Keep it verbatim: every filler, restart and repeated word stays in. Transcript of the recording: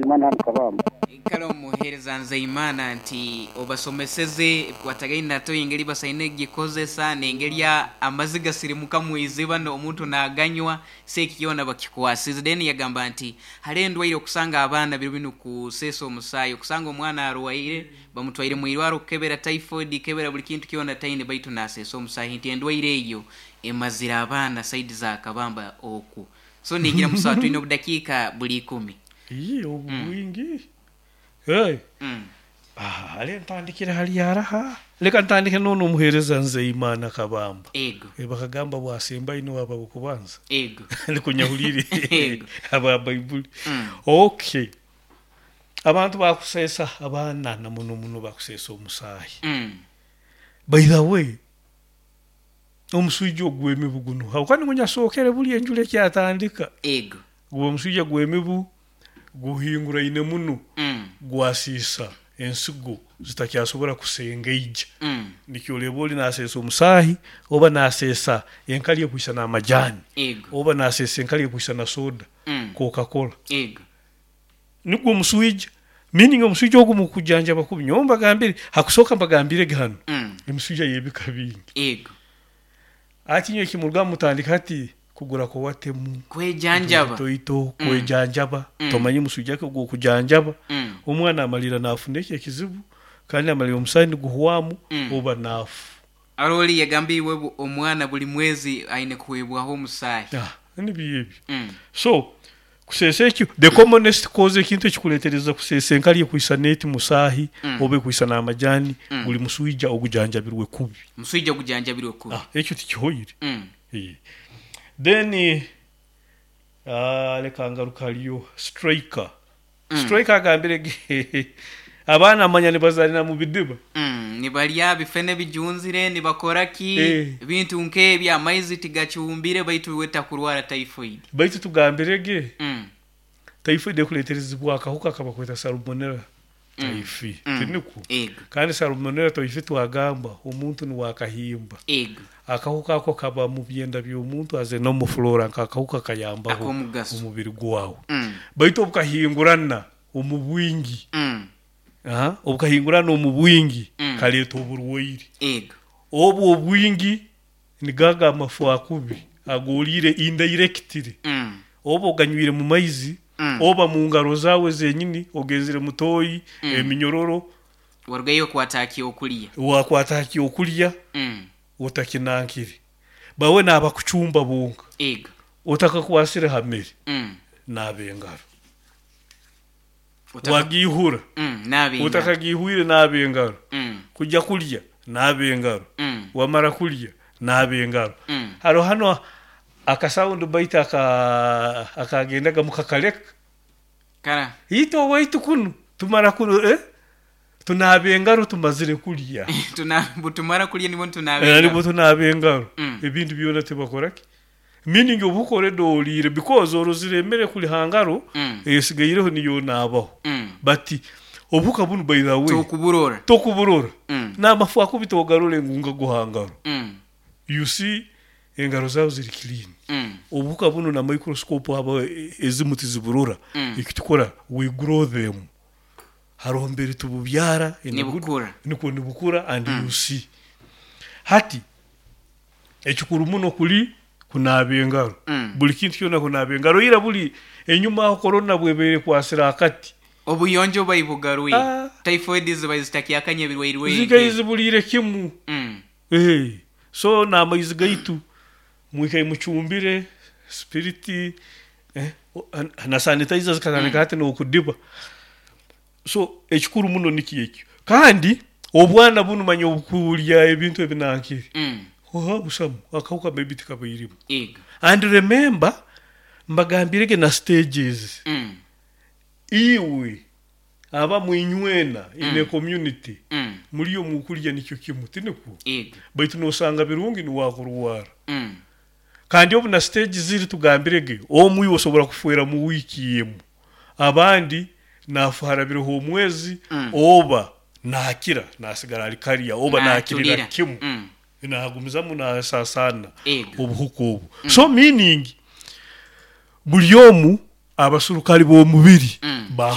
Nzeyimana hano Kabamba. Kale, omuheereza Nzeyimana, nti obasomeseze ebikwatagaine natoyi, engeri basaine gikozesa n'engeri amazzi gasirimuka mu iziba omuntu naganywa, si eki kyona bakikwasize. Then yagamba nti hali endwaire okusanga abaana biro binu kuseesa omusaayi, okusanga omwana arwaire, bamutwaire mu irwaro kukebera typhoid, kebera buli kintu kyona taine, baitu naseesa omusaayi, nti endwaire eyo emazire abaana side za Kabamba oku. So nigira musawa twine obudakiika buli ikumi. Ii, obu bwingi. Hey. Mm. Ah, ale ntandikire hali araha, leka ntandike nono omuheereza Nzeyimana Kabamba. Ego. E, bakagamba bwasembayo niwe aba bukubanza. Ego. Nikunyahulire. Ego. Aba Baibuli. Mm. Okay, abantu bakusesa, abaana na muno muno bakusesa omusaayi. Mm. By the way, omuswija ogw'emibu guno hawukani ngunyasookere buli enjura ekyatandika. Ego. Guba omuswija gw'emibu guhinguraine muno. Mm. Gwasiisa ensigo, zitakyasobora kusengeija. Mm. Nikyo oleba oli naseesa omusaahi oba naseesa enkali ekwisa n'amajani. Ego. Oba naseesa enkali ekwisa na soda, Mm. Coca-Cola. Ego. Nigwo omuswija, meaning omuswija ogu mukujanjaba kubi. Nyowe mbagambire hakusooka, mbagambirege hano, Mm. emiswija y'ebika bingi. Ego. Ati nyowe kimurugamu mutandika hati kugura Coartem. Kwejanjaba. Toito. Mm. Kwejanjaba. Mm. Tomanye muswija ke ogw'okujanjaba. Mm. Omwana amalira nafuna ekyo ekizibu, kandi amalira omusaayi niguhwamu, Mm. oba naafu. Aroli yagambiwe bu- omwana buli mwezi aine kuhebwaho omusaayi. Ah, nibyo ebyo. Mm. So kuseesa ekyo, the commonest cause, ekintu ekikuletereza kuseesa enkali ekwisa neti musaahi, Mm. oba ekwisa n'amajani, Mm. guli muswija ogujanjabirwe kubi. Muswija ogujanjabirwe kubi. Ah, ekyo tikihoire. Mm. Eh. Then uh, leka ngaruka haliyo Striker. Mm. Striker agambire ge abaana amanya nibazalina mu bidiba. Mm. nibalya bifene bijunzire, nibakora ki, Eh. ebintu nk'ebyo, amaizi tigacumbire, baitu weta kurwara typhoid. Baitu tugambire ge, mm. typhoid ekuleterezibwa akahuka kabakweta Salmonella Mm. typhi. Mm. Tiniko? Ego. Kandi Salmonella typhi, twagamba omuntu niwakahimba. Ego. Akahuka ako kaba mu byenda by'omuntu, aze no mu flora nk'akahuka kayambaho Ak'omugaso. omubiri gwawe. Mm. Baitu obukahingurana omu bwingi, Mm. aha, obukahingurana omu bwingi, Mm. kaleeta oburwaire. Ego. Obwo obwingi nigaga amafu akubi agolire indirectly, Mm. oba oganywire mu maizi, Mm. oba mu ngaro zawe zenyini ogenzire mutoyi, Mm. eminyororo. Warugayo okwata okulya. Wakwata okulya, Mm. otakinankire bawe nabakucumba bonka, ego otakakwasire ha mere, Mm. naaba engaro. Otaka- Wagihura, Mm. naaba engaro. otakagihwire, naaba engaro. Mm. Kujya kulya, naaba engaro. Mm. Wamara kulya, naaba engaro. Mm. Haro hano akasound bite aka akagendaga mukakaleka. Kara. Ito waitu kuno tumara kuno, eh? Tunaaba engaro tumazire kulya. Tuna butumara kulya nibwo tunaaba Eh, engaro. Nibwo tunaaba engaro. Mm. Ebintu byona tibakoraki, meaning obukore dolire because orozire emere kuli hangaro, Mm. esigaireho niyo naabaho. Mm. Bati obuka bunu, by the way, tokuburora. Tokuburora. Mm. N'amafu akubita ogarore ngunga guhangaro, Mm. you see engaro zawe ziri clean. Mm. Obuhuka buno na microscope aba ezimu tiziburora. Mm. Ekitukora, we grow them, hariho mbere tububyara in a good- Nibukura. Niko nibukura, and you see hati ekikuru muno kuli kunaaba engaro. Mm. Buli kintu kyona kunaaba engaro. Ira buli enyuma aho korona bwebeire kwasira akati, obuyonjo baibugarwire. Ah. Typhoid ziba zitakyakanya ebirwairwe. Zigaye zibuliire kimu. Mm. Eh, so n'amaizi gaitu mwikaye mucumbire spiriti, eh, o- na sanitizer zikatandika hati n'okudiba. So ekikuru muno niki ekyo. Kandi obwana bunu manya obukulya ebintu ebinankire, Mm. oha busamu akahuka maybe tikabairimu. Ego. And remember, mbagambirege na stages. Mm. Iwe aba mwinywena in a community, Mm. muliyo mukulya nikyo kimu, tiniko? Ego. Baitu nosanga birungi niwakurwara. Mm. Kandi obu na stage ziri, tugambirege, omwe osobora kufuera mu wiki emu, abandi nafuharabireho omwezi, Mm. oba nakira nasigara ali kariya, oba nakirira Natulira. kimu, Mm. nagumizamu nasasana Ego. obuhuka obu. So meaning buli omu abasurukali b'omubiri Mm. bahu